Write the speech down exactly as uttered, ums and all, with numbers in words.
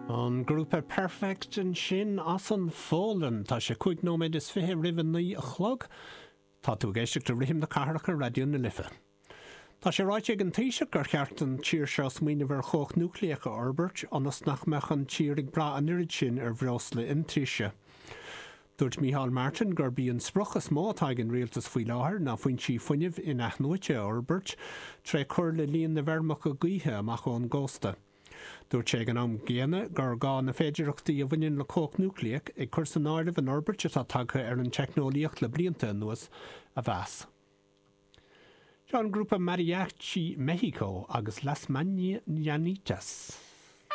An grúpa Perfect ansin as an Pholainn tá sé cúig nóiméad is fiche roimh a naoi a chlog, Tá tú ag éisteacht le Rithim na Cathrach ar Raidió na Life. Tá sé ráite ag an Taoiseach gur cheart an tír seo smaoineamh ar chumhacht núicléach a fhorbairt ionas nach mbeadh an tír ag brath an oiread sin ar bhreosla iontaise. Dúirt Micheál Martin gurb í an sprioc is mó atá ag an rialtas faoi láthair ná foinsí fuinnimh in-athnuaite a fhorbairt tré chur le líon na bhfeirmeacha gaoithe amach ón gcósta. Dúirt sé ag an am céanna gur gá na féidearthachtaí a bhaineann le cumhacht núicléach ag cur san áireamh an fhorbairt atá tagtha ar an teicneolaíocht le blianta anuas a mheas. Seo an grúpa Mariachi Mexico agus Las Mañanitas.